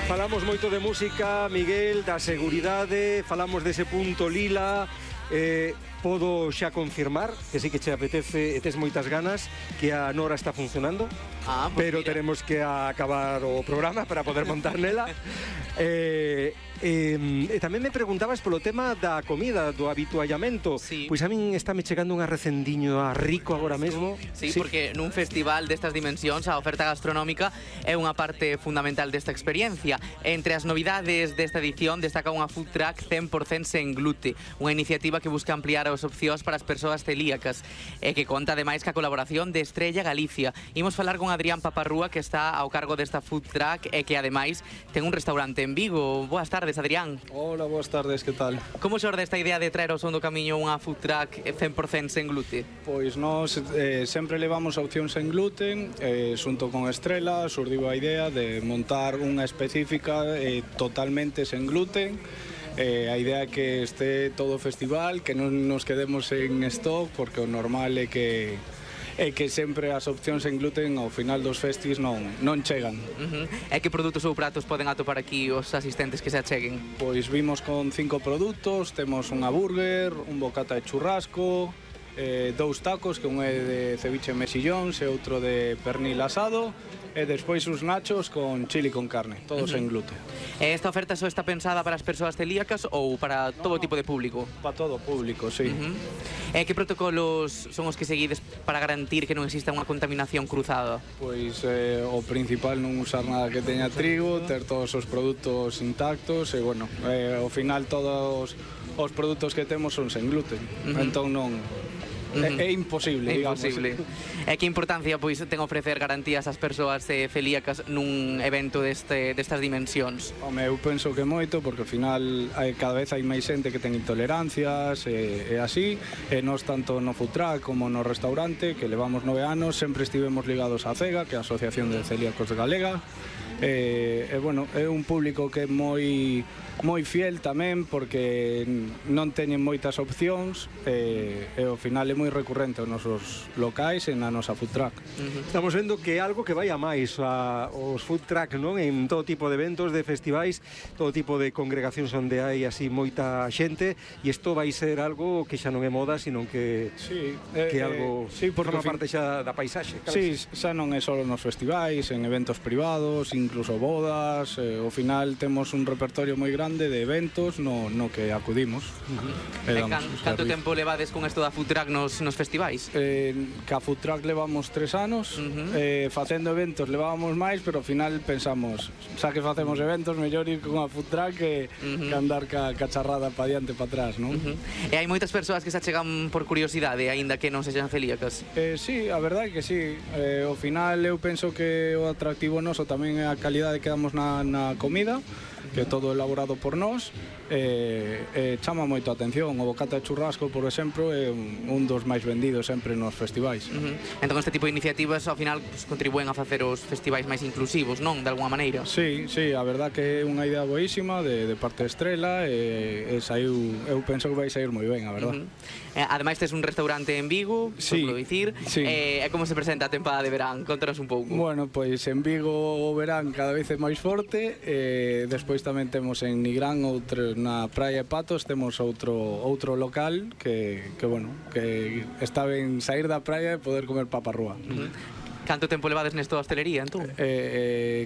Falamos moito de música, Miguel, da seguridade, falamos dese punto lila. Podo xa confirmar que sí que che apetece e tes moitas ganas, que a Nora está funcionando, pero mira, teremos que acabar o programa para poder montar nela. Tamén me preguntabas polo tema da comida, do habituallamento. Sí. Pois a min está me chegando unha recendiño a rico agora mesmo. Sí, porque nun festival destas dimensións a oferta gastronómica é unha parte fundamental desta experiencia. Entre as novidades desta edición destaca unha food truck 100% sen glute, unha iniciativa que busca ampliar as opcións para as persoas celíacas e que conta ademais ca colaboración de Estrella Galicia. Imos falar con Adrián Paparrúa, que está ao cargo desta food truck e que ademais ten un restaurante en Vigo. Boas tardes, Adrián. Hola, boas tardes, que tal? Como xorde esta idea de traer ao son do camiño unha food truck 100% sen glute? Pois nós sempre levamos a opción sen gluten, xunto con Estrela surdiu a idea de montar unha específica totalmente sen gluten. A idea é que este todo o festival, que non nos quedemos en stock, porque o normal é que sempre as opcións en gluten ao final dos festis non chegan. E que produtos ou pratos poden atopar aquí os asistentes que se acheguen? Pois vimos con 5 produtos, temos unha burger, un bocata de churrasco, 2 tacos, que un é de ceviche mexillóns e outro de pernil asado, e despois uns nachos con chili con carne, todos en gluten. E esta oferta só está pensada para as persoas celíacas ou para todo tipo de público? Para todo o público, sí. E que protocolos son os que seguides para garantir que non exista unha contaminación cruzada? Pois o principal non usar nada que teña trigo, ter todos os produtos intactos e, bueno, ao final todos os produtos que temos son sen gluten, entón non... É imposible, digamos. E que importancia pois ten ofrecer garantías ás persoas celíacas nun evento destas dimensións? Home, eu penso que moito, porque ao final cada vez hai máis xente que ten intolerancias e así, e nós tanto no food truck como no restaurante, que levamos 9 anos, sempre estivemos ligados á CEGA, que é a Asociación de Celíacos de Galega. Bueno, é un público que é moi fiel tamén, porque non teñen moitas opcións e ao final é moi recurrente aos nosos locais e na nosa food truck. Estamos vendo que é algo que vai a máis os food truck, non? En todo tipo de eventos, de festivais, todo tipo de congregacións onde hai así moita xente, e isto vai ser algo que xa non é moda, sino que é algo que forma parte xa da paisaxe. Sí, xa non é só nos festivais, en eventos privados, incluso bodas, ao final temos un repertorio moi grande de eventos no que acudimos. Canto tempo levades con isto da food truck nos festivais? Ca food truck levamos 3 anos, facendo eventos levábamos máis, pero ao final pensamos, xa que facemos eventos, mellor ir con a food truck que andar ca charrada pa diante e pa atrás, non? E hai moitas persoas que se achegan por curiosidade, aínda que non sexan celíacas? Sí, a verdade é que sí. Ao final eu penso que o atractivo noso tamén é a calidade que damos na comida, que é todo elaborado por nós, chama moito a atención. O bocata de churrasco, por exemplo, é un dos máis vendidos sempre nos festivais. Entón este tipo de iniciativas ao final contribúen a facer os festivais máis inclusivos, non? De alguma maneira? Sí, a verdad que é unha idea boísima de parte de Estrela e eu penso que vai sair moi ben, a verdad. Ademais tes un restaurante en Vigo, podo dicir. E como se presenta a tempada de verán? Contanos un pouco. Bueno, pois en Vigo o verán cada vez é máis forte, despois tamén temos en Nigrán, na Praia de Patos, temos outro local que está ben sair da praia e poder comer paparrúa. Canto tempo levades nesto da hostelería, entón?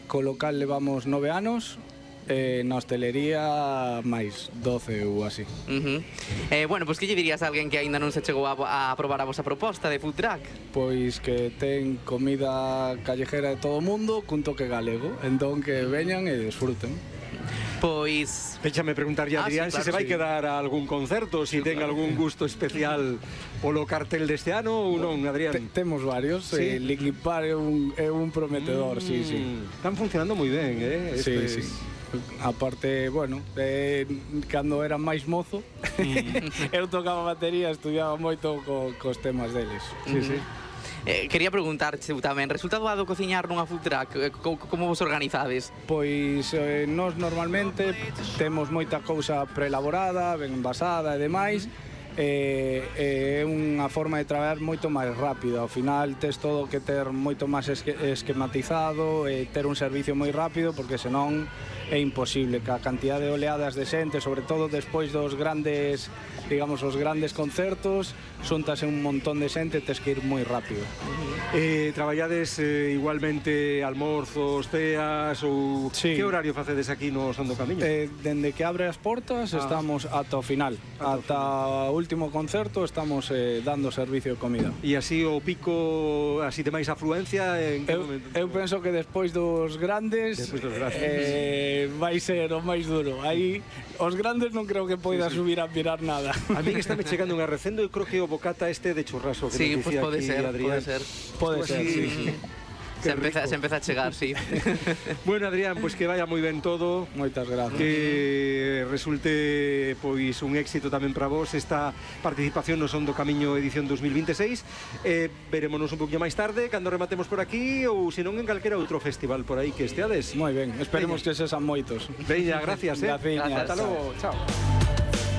Co local levamos 9 anos, na hostelería máis 12 ou así. Bueno, pois que lle dirías a alguén que aínda non se chegou a probar a vosa proposta de food truck? Pois que ten comida callejera de todo o mundo cun toque galego, entón que veñan e desfruten. Pois... Déxame preguntarlle a Adrián se vai quedar a algún concerto, se ten algún gusto especial polo cartel deste ano ou non, Adrián? Temos varios, Linkin Park é un prometedor, sí. Están funcionando moi ben, Sí. Aparte, bueno, cando era máis mozo, eu tocaba batería, estudiaba moito cos temas deles. Sí. Quería preguntarche tamén, resulta doado cociñar nunha food truck? Como vos organizades? Pois nós normalmente temos moita cousa preelaborada, ben envasada e demais, é unha forma de traballar moito máis rápida. Ao final tes todo que ter moito máis esquematizado e ter un servicio moi rápido, porque senón é imposible. Que a cantidad de oleadas de xente, sobre todo despois dos grandes, digamos, os grandes concertos, xuntase un montón de xente, tes que ir moi rápido. Traballades igualmente almorzos, ceas ou Sí. que horario facedes aquí no Son do Camiño? Dende que abre as portas estamos ata o final, ata o último concerto estamos dando servicio de comida. E así o pico, así de máis afluencia en que momento? Eu penso que despois dos grandes, vai ser o máis duro. Aí os grandes non creo que poida subir a mirar nada. A mí que está me chegando unha recendo, eu creo que o bocata este de churrasco que Sí, nos pues dicía pode aquí ser, Adrián. Pode ser, sí. Se empeza a chegar, sí. Bueno, Adrián, pues que vaya moi ben todo. Moitas gracias. Que resulte pois un éxito tamén para vos esta participación no Son do Camiño edición 2026. Verémonos un poquinho máis tarde cando rematemos por aquí ou senón en calquera outro festival por aí que esteades. Moi ben, esperemos que sexan moitos. Veña, gracias, Graciñas. Ata logo, chao.